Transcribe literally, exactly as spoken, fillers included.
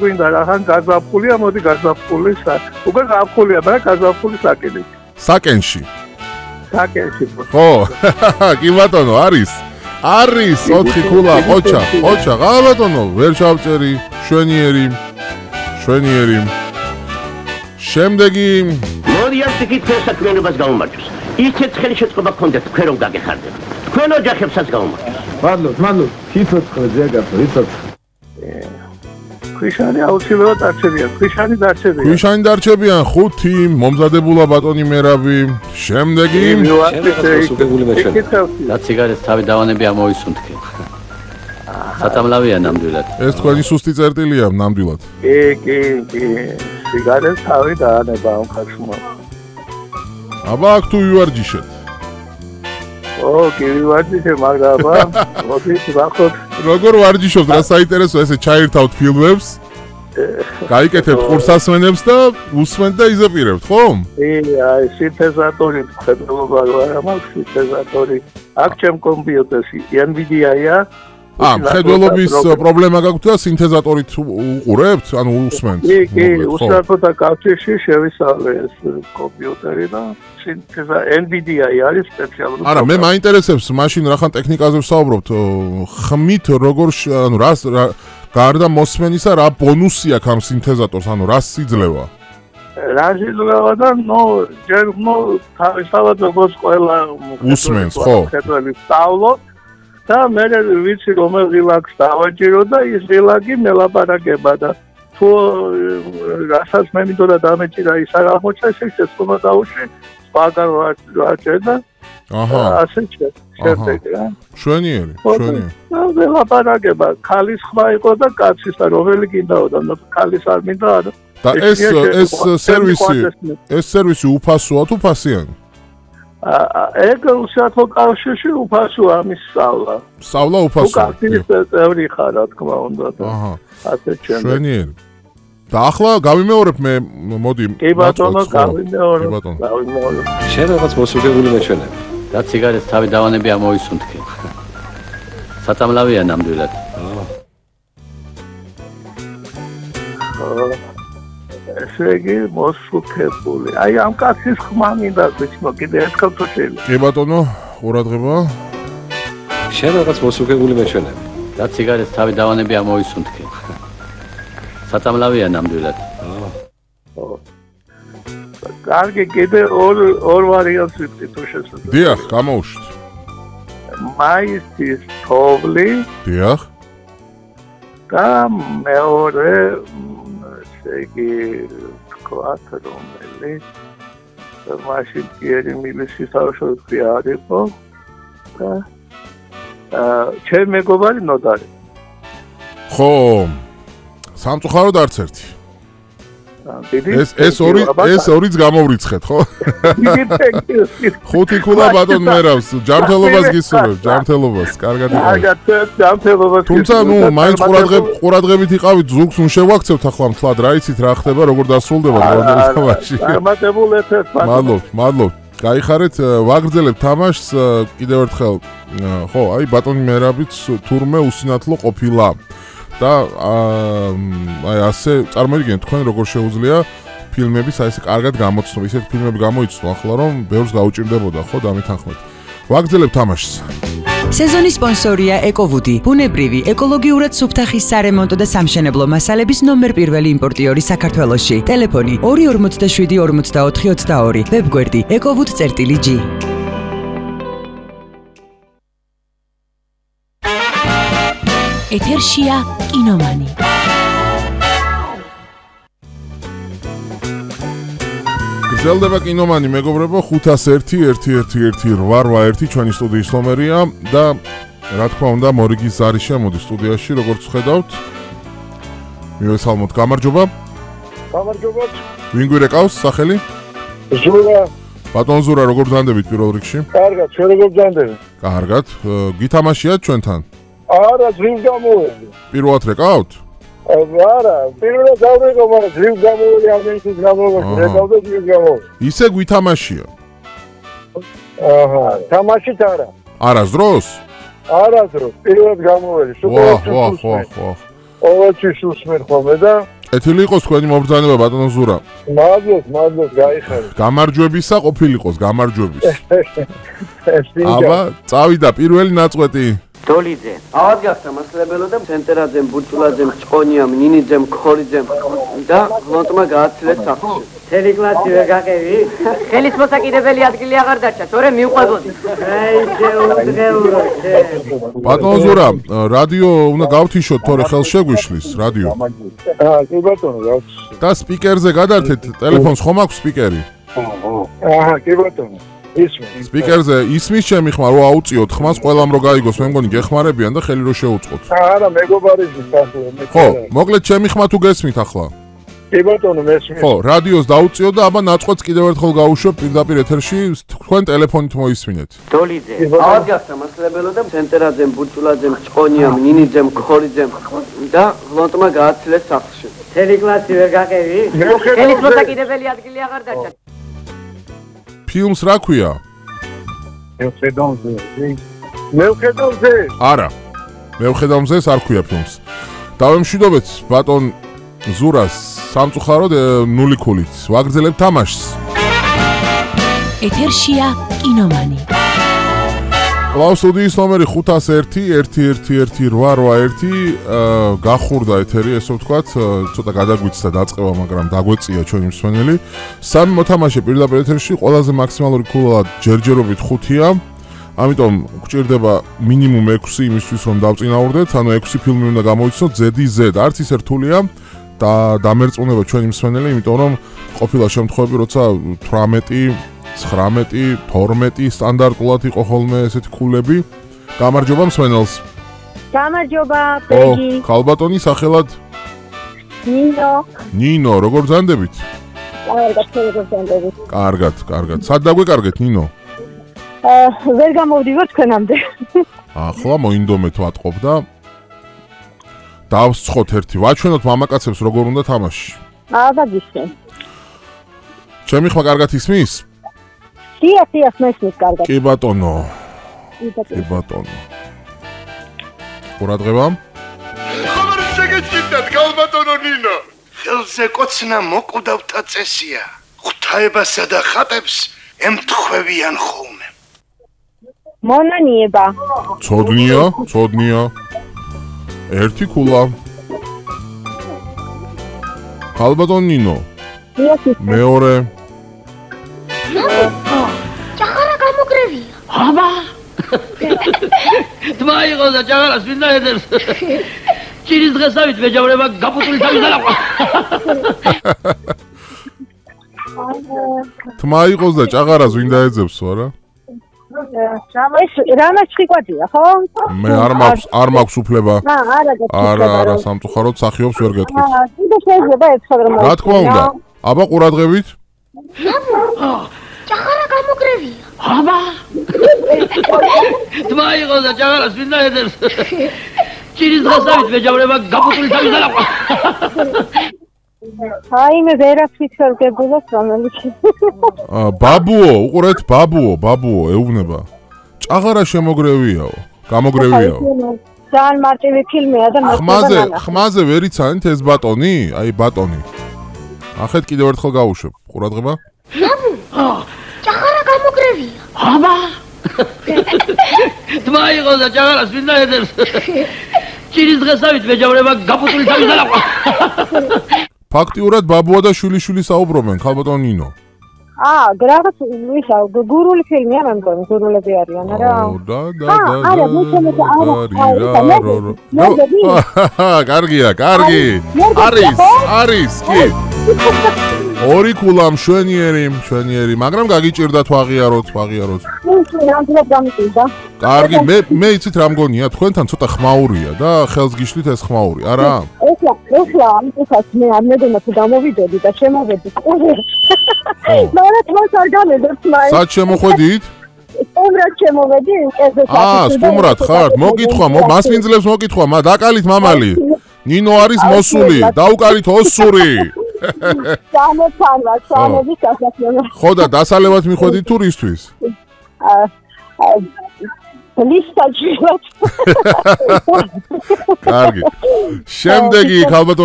გვინდა რახან გაზაფხულია, მოდი გაზაფხულის უკვე გაზაფხულია, მაგრამ გაზაფხულის საკენში. საკენში. საკენში. ხო, კი ბატონო, არის. არის ოთხი ქულა, ყოჩა, ყოჩა, რა ბატონო, ვერ ჩავჭერი, შვენიერი. შვენიერი. შემდეგი მოდი ამ საკითხს საქმიანობას გავუმარჯოს. ისეთ ხელი შეწყობა გქონდეთ თქვენ რომ გაგეხარდებათ. თქვენ ოჯახებსაც გავუმარჯოს. მადლობ, მადლობ. სიცოცხლე ზეგაცო, სიცოცხლე. ქვიშანი აუცილებლად დარჩებიან. ქვიშანი დარჩებიან. ქვიშანი დარჩებიან ხუთი, მომზადებულა ბატონი მერაბი. შემდეგი და ციგარეთს თავი დავანები ამოისუნთქე. სათამლავია ნამდვილად. ეს თქვენი სუსტი წერტილია ნამდვილად. კი, კი, კი. ციგარეთს თავი დაანება ამ ხაშმა. აბა აქ თუ ვივარჯიშეთ. ო, კი ვივარჯიშე, მაგრამ აბა, მოდი ვახოთ. როგორ ვარჯიშობთ, რა საინტერესო ესე ჩაირთავთ ფილმებს? გაიკეთებთ ყურსასმენებს და უსმენთ და იზაპირებთ, ხო? კი, აი, სინთეზატორი მხედველობა რა მაქვს სინთეზატორი. აქ ჩემ კომპიუტერში NVIDIA-ია. ა, მხედველობის პრობლემა გაქვთ და სინთეზატორით უყურებთ, ანუ უსმენთ. კი, კი, უსწრაფოთა კავშირში შევისწავლე ეს კომპიუტერი და სინთეზა NVIDIA-ი არის სპეციალური. არა, მე მაინტერესებს მაშინ რახან ტექნიკაზე ვსაუბრობთ, ხმით როგორ ანუ რას გარდა მოსმენისა რა ბონუსი აქვს ამ სინთეზატორს, ანუ რა სიძლევა? რა სიძლევა და ნუ ჯერ ნუ თავისთავად როგორც ყველა უსმენს, ხო? ხეთველი სწავლობ და მე ვიცი რომელ რილაქს დავაჭირო და ის რილაკი მელაპარაკება და თუ რასაც მე მინდოდა დამეჭირა ის არ აღმოჩნდა ეს შეცდომა დაუშვი სხვაგან ვაჭერ და აჰა ასე შემდეგ რა შვენიერი შვენიერი და მელაპარაკება ქალის ხმა იყო და კაცის და რომელი გინდაოდა და ქალის არ მინდა და ეს ეს სერვისი ეს სერვისი უფასოა თუ ფასიანი? ეგ უსიათო კავშირში უფასოა ამის სწავლა. სწავლა უფასოა. უკაცის წევრი ხარ, რა თქმა უნდა. აჰა. ასე ჩემ. შვენიერი. და ახლა გავიმეორებ მე მოდი. კი ბატონო, გავიმეორებ. გავიმეორებ. შენ რაღაც მოსუგებული მეჩვენები. და ციგარეთს თავი დავანები ამოისუნთქე. სათამლავია ნამდვილად. ესე იგი მოსუქებული. აი ამ კაცის ხმა მინდა ვიცნო კიდე ერთხელ თუ შეიძლება. კი ბატონო, ყურადღება. შენ რაღაც მოსუქებული მეჩვენები. და ციგარეთს თავი დავანები ამოისუნთქე. სათამლავია ნამდვილად. ხო. კარგი, კიდე ორ ორ ვარიანტს ვიტყვი თუ შესაძლოა. დიახ, გამოუშვით. მაისის თოვლი. დიახ. და მეორე იგი თქვათ რომელი მაშინ კიერი მილისის თავშოთი არ იყო და აა ჩემ მეგობარი ნოტარი. ხო სამწუხაროდ არც ერთი. ეს ეს ორი ეს ორიც გამოვრიცხეთ, ხო? ხუთი ქულა ბატონ მერავს, ჯანმრთელობას გისურვებ, ჯანმრთელობას, კარგად იყავით. კარგად, ჯანმრთელობას. თუმცა, ნუ, მაინც ყურადღებ ყურადღებით იყავით, ზუგს ნუ შევაქცევთ ახლა მთლად, რა იცით რა ხდება, როგორ დასრულდება თამაში. წარმატებულ ეთერს. მადლობ, მადლობ. გაიხარეთ, ვაგრძელებთ თამაშს კიდევ ერთხელ. ხო, აი ბატონი მერაბიც თურმე usinathlo ყოფილა. და აი ასე წარმოიდგინეთ თქვენ როგორ შეუძლია ფილმების აი ესე კარგად გამოცნო, ისეთ ფილმები გამოიცნო ახლა რომ ბევრს გაუჭირდებოდა ხო დამეთანხმეთ. ვაგრძელებთ თამაშს. სეზონის სპონსორია ეკოვუდი, ბუნებრივი, ეკოლოგიურად სუფთახის სარემონტო და სამშენებლო მასალების ნომერ პირველი იმპორტიორი საქართველოში. ტელეფონი ორი ორმოცდაშვიდი ორმოცდაოთხი ოცდაორი, ვებგვერდი ეკოვუდ.gi. ეთერშია კინომანი. გრძელდება კინომანი, მეგობრებო, ხუთას ერთი ერთი ერთი ერთი რვა ერთი ჩვენი სტუდიის ნომერია და რა თქმა უნდა, მორიგის ზარი შემოდის სტუდიაში, როგორც ხედავთ. მივესალმოთ, გამარჯობა. გამარჯობა. ვინ გვირეკავს სახელი? ზურა. ბატონ ზურა, როგორ ბრძანდებით პირველ რიგში? კარგად, ჩვენ როგორ ბრძანდებით? კარგად. გითამაშიათ ჩვენთან? არა, ძრიმ გამოვედი. პირველად რეკავთ? არა, პირველად დავრეკო, მაგრამ ძრიმ გამოვედი, ამენთვის გამოვედი, რეკავდა ძრიმ გამოვედი. ისე გვითამაშია? აჰა, თამაშით არა. არასდროს? არასდროს, პირველად გამოვედი. ვაჰ, ვაჰ, ვაჰ, ვაჰ. ყოველთვის უსმენ ხოლმე და ეთილი იყოს თქვენი მობრძანება ბატონო ზურა. მადლობ, მადლობ, გაიხარეთ. გამარჯვებისა ყოფილიყოს, გამარჯვების. აბა, აბა, წავიდა პირველი ნაწყვეტი. დოლიძე. ავად გახდა მასლებელო და ცენტერაძემ, ბურჭულაძემ, ჭყონიამ, ნინიძემ, ხოლიძემ და ლონტმა გააცილეს სახლში. მთელი კლასი ვერ გაყევი? ხელის მოსაკიდებელი ადგილი აღარ დარჩა, თორე მივყვებოდი. აი, შეუდღეურო, შე. ბატონო ზურა, რადიო უნდა გავთიშოთ, თორე ხელს შეგვიშლის რადიო. აა, კი ბატონო, გავთიშოთ. და სპიკერზე გადართეთ, ტელეფონს ხომ აქვს სპიკერი? აჰა, კი ბატონო. ისმის. სპიკერზე ისმის ჩემი ხმა რო აუწიოთ ხმას ყველამ რო გაიგოს, მე მგონი გეხმარებიან და ხელი რო შეუწყოთ. არა, მეგობარიზმის ახლა მე. ხო, მოკლედ ჩემი ხმა თუ გესმით ახლა. კი ბატონო, მესმის. ხო, რადიოს დაუწიო და აბა ნაწყვეტს კიდევ ერთხელ გავუშვებ პირდაპირ ეთერში, თქვენ ტელეფონით მოისმინეთ. დოლიძე. ავად გახდა მასლებელო და ცენტერაძემ, ბურჭულაძემ, ჭყონიამ, ნინიძემ, ხოლიძემ და ლონტმა გააცილეს სახლში. მთელი კლასი ვერ გაყევი? ხელის მოსაკიდებელი ადგილი აღარ დარჩა. ფილმს რა ქვია? მევხედავზე. მევხედავზე. არა. მევხედავზე არ ქვია ფილმს. დავემშვიდობეთ ბატონ ზურას სამწუხაროდ ნული ქულით. ვაგრძელებთ თამაშს. ეთერშია კინომანი. კლაუს სტუდიის ნომერი ხუთას ერთი ერთი ერთი ერთი რვა რვა ერთი გახურდა ეთერი, ესე ვთქვათ, ცოტა გადაგვიცხდა დაწყება, მაგრამ დაგვეწია ჩვენი მსმენელი. სამი მოთამაშე პირდაპირ ეთერში, ყველაზე მაქსიმალური ქულა ჯერჯერობით ხუთია. ამიტომ გვჭირდება მინიმუმ ექვსი იმისთვის, რომ დავწინაურდეთ, ანუ ექვსი ფილმი უნდა გამოიცნოთ ზედი ზედ. არც ის რთულია და დამერწმუნება ჩვენი მსმენელი, იმიტომ რომ ყოფილა შემთხვევები, როცა თვრამეტი ცხრამეტი, თორმეტი სტანდარტულად იყო ხოლმე ესეთი ქულები. გამარჯობა მსმენელს. გამარჯობა, ბეგი. ო, ქალბატონი სახელად? ნინო. ნინო, როგორ ბრძანდებით? კარგად, როგორ ბრძანდებით? კარგად, კარგად. სად დაგვეკარგეთ ნინო? აა, ვერ გამოვდივარ თქვენამდე. ახლა მოინდომეთ ვატყობ და დავსცხოთ ერთი. ვაჩვენოთ მამაკაცებს როგორ უნდა თამაში. აბა გისმენ. ჩემი ხმა კარგად ისმის? დია, დია, მესმის კარგად. კი ბატონო. კი ბატონო. ყურადღება. ხომ შეგეჭირდათ ქალბატონო ნინო? ხელზე კოცნა მოკვდავთა წესია. ღვთაებასა და ხატებს ემთხვევიან ხოლმე. მონანიება. ცოდნია, ცოდნია. ერთი ქულა. ქალბატონ ნინო. მეორე. ჭაღარა გამოგრევია. აბა! თმა იყო და ჭაღარას მინდა ედებს. ჭირის დღესავით მეჯავრება გაფუტული თავის დალაყვა. თმა იყოს და ჭაღარას ვინდა ეძებს არა? ეს რამაც ციყვადია, ხო? მე არ მაქვს, არ მაქვს უფლება. აა, არა, არა, არა, სამწუხაროდ სახიობს ვერ გეტყვით. აა, კიდე შეიძლება ეცხადო რომ. რა თქმა უნდა. აბა ყურადღებით. ჭაღარა გამოგრევია. აბა! თმა იყო და ჭაღარას მინდა ედებს. ჭირის დღესავით მეჯავრება გაფუტული თავის დალაყვა. აი მე ვერაფრით ვერ გებულობ რომელიც. აა, ბაბუო, უყურეთ, ბაბუო, ბაბუო, ეუბნება. ჭაღარა შემოგრევიაო, გამოგრევიაო. ძალიან მარტივი ფილმია და ხმაზე, ხმაზე ვერ იცანით ეს ბატონი? აი ბატონი. ახეთ კიდევ ერთხელ გავუშვებ. ყურადღება. ჭაღარა გამოგრევია. აბა! თმა იყო და ჭაღარას მინდა ედებს. ჭირის დღესავით მეჯავრება გაფუტული თავის დალაყვა. ფაქტიურად ბაბუა და შვილიშვილი საუბრობენ, ქალბატონ ნინო. აა, რაღაც ისა გურული ფილმია, მე მგონი, გურულები არიან, არა? და და და. არა, მე შემოწა, არა. კარგია, კარგი. არის, არის, კი. ორი ქულა მშვენიერი, მშვენიერი, მაგრამ გაგიჭირდათ ვაღიაროთ, ვაღიაროთ. ნამდვილად გამიჭირდა. კარგი, მე მე იცით რა მგონია, თქვენთან ცოტა ხმაურია და ხელს გიშლით ეს ხმაური, არა? ეხლა, ეხლა ამიტომაც მე არ მეგონა თუ გამოვიდოდი და შემოვედი. მაგრამ თავს არ გამედებს მაინც. სად შემოხვედით? სტუმრად შემოვედი, კერძოდ. აა, სტუმრად ხართ? მოგითხვა, მასპინძლებს მოგითხვა, მა დაკალით მამალი. ნინო არის მოსული, დაუკალით ოსური. სამოთანვა, სამობის ასაკია. ხო და დასალევად მიხვედით თუ რისთვის? აა ლისტაჯილად. კარგი. შემდეგი ქალბატონ